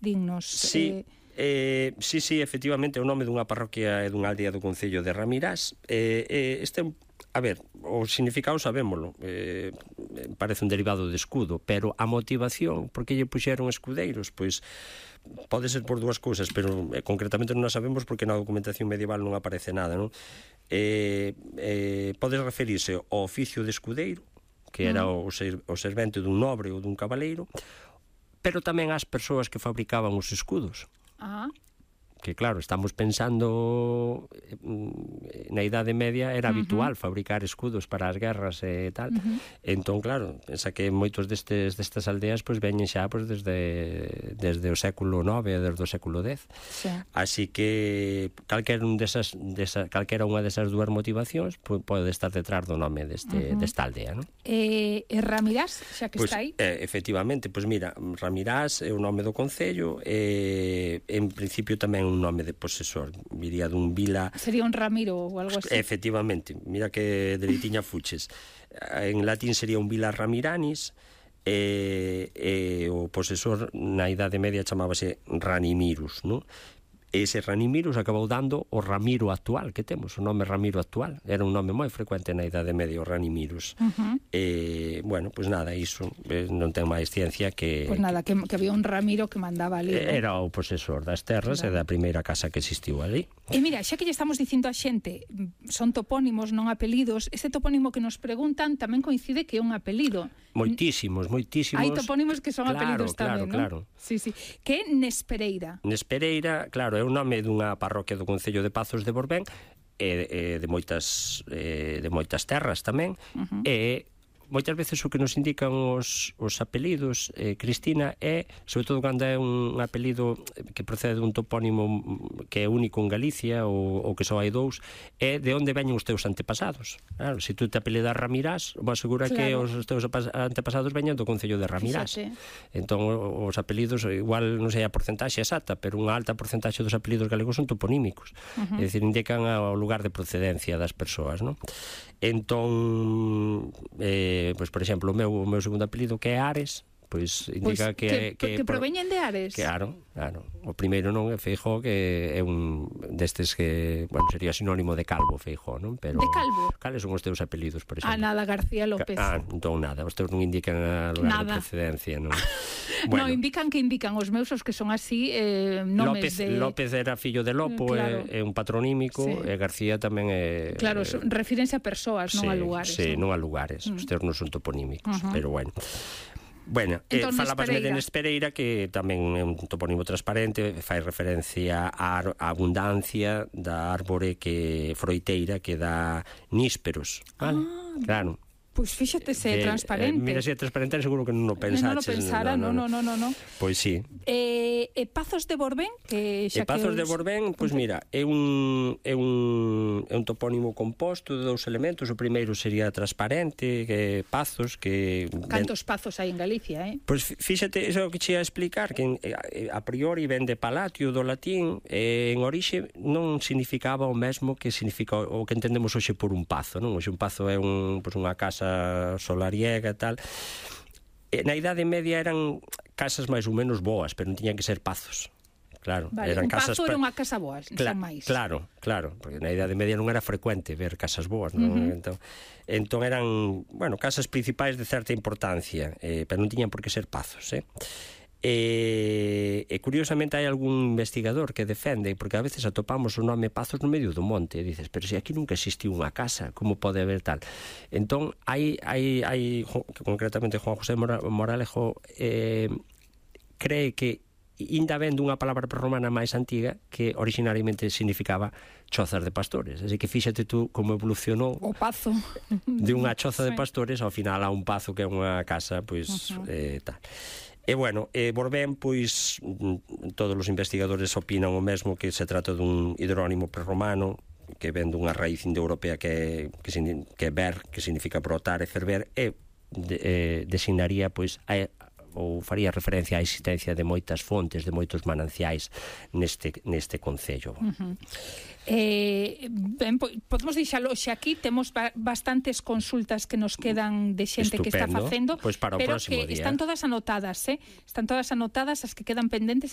dignos. Sí, sí, efectivamente, é o nome dunha parroquia e dunha aldea do concello de Ramirás. A ver, o significado sabémolo, parece un derivado de escudo, pero a motivación, por que lle puxeron escudeiros, pois pode ser por dúas cousas, pero concretamente non a sabemos porque na documentación medieval non aparece nada, non? Pode referirse ao oficio de escudeiro, que era o servente dun nobre ou dun cabaleiro, pero tamén ás persoas que fabricaban os escudos. Que claro, estamos pensando na Idade Media era habitual fabricar escudos para as guerras e tal. Entón, claro, pensa que moitos destas aldeas pois veñen xa pois desde o século IX e desde o século X. Sí. Así que calquera unha desas dúas motivacións pode estar detrás do nome desta aldea, non? E Ramirás, xa que está aí? Efectivamente, pois mira, Ramirás é o nome do concello, en principio tamén un nome de posesor, viría dun vila... Sería un Ramiro ou algo así? Efectivamente, mira que dereitiña fuches. En latín sería un vila Ramiranis, e o posesor na Idade Media chamábase Ranimirus, non? Ese Ranimirus acabou dando o Ramiro actual que temos, o nome Ramiro actual. Era un nome moi frecuente na Idade Media, o Ranimirus. Bueno, pois nada, iso non ten máis ciencia que... Pois nada, que había un Ramiro que mandaba ali. Era o posesor das terras e da primeira casa que existiu ali. E mira, xa que lle estamos dicindo a xente, son topónimos, non apelidos, este topónimo que nos preguntan tamén coincide que é un apelido. Moitísimos. Hai topónimos que son apelidos tamén, non? Claro. Sí. Que é Nespereira. Nespereira, claro, é o nome dunha parroquia do concello de Pazos de Borbén e de moitas terras tamén. E moitas veces o que nos indican os apelidos, Cristina, é, sobre todo cando é un apelido que procede dun topónimo que é único en Galicia ou que só hai dous, é de onde veñen os teus antepasados. Claro, se tú te apelidas Ramirás, vou asegurar que os teus antepasados veñen do concello de Ramirás. Entón, os apelidos, igual non sei a porcentaxe exacta, pero unha alta porcentaxe dos apelidos galegos son toponímicos. É dicir, indican o lugar de procedencia das persoas, non? Entón, pois, por exemplo, o meu segundo apelido, que é Ares, pois indica que proveñen de Ares. Claro. O primeiro non é Feijóo, que é un destes que, bueno, sería sinónimo de Calvo, Feijóo, non? Pero de Calvo? Cales son os teus apelidos, por exemplo? Nada, García López. Entón nada, os teus non indican a lugar de procedencia, non? Bueno. Non, indican os meus, os que son así, nomes López era fillo de Lopo, claro. É un patronímico, e García tamén é... Claro, refírense a persoas, non a lugares. Sí, non a lugares, os teus non son toponímicos, pero bueno... Bueno, falabasme de Nespereira, que tamén é un topónimo transparente, fai referencia á abundancia da árbore froiteira que dá nísperos, vale? Claro. Pois fíxate se é transparente. Mira, se é transparente, seguro que non o pensaches. Non o pensara, non. Pois sí. E Pazos de Borbén, que xa que... Pazos de Borbén, pois mira, é un topónimo composto de dous elementos. O primeiro sería transparente, que Pazos, que... Cantos pazos hai en Galicia, Pois fíxate, iso que che ia explicar, que a priori ven de palatio do latín, en orixe non significaba o mesmo que significa o que entendemos hoxe por un pazo, non? Hoxe un pazo é unha casa solariega e tal. Na Idade Media eran casas máis ou menos boas, pero non tiñan que ser pazos. Claro, vale, eran un pazo era unha casa boa, non máis. Claro, porque na Idade Media non era frecuente ver casas boas, non? Entón eran, bueno, casas principais de certa importancia, pero non tiñan por que ser pazos, E curiosamente hai algún investigador que defende, porque a veces atopamos o nome Pazos no medio do monte, e dices, pero se aquí nunca existiu unha casa, como pode haber tal? Entón hai concretamente Juan José Moralejo cree que ainda vendo unha palabra prerromana máis antiga que originariamente significaba chozas de pastores, así que fíxate tú como evolucionou o pazo de unha choza de pastores ao final a un pazo que é unha casa, pois tal. E bueno, Borbén, pois todos os investigadores opinan o mesmo, que se trata dun hidrónimo prerromano que ven dunha raíz indoeuropea que é ver, que significa brotar e ferver, e designaría pois ou faría referencia á existencia de moitas fontes, de moitos mananciais neste concello. Podemos deixalo xe aquí, temos bastantes consultas que nos quedan de xente que está facendo, pois para o pero próximo que día. están todas anotadas, están todas anotadas, as que quedan pendentes,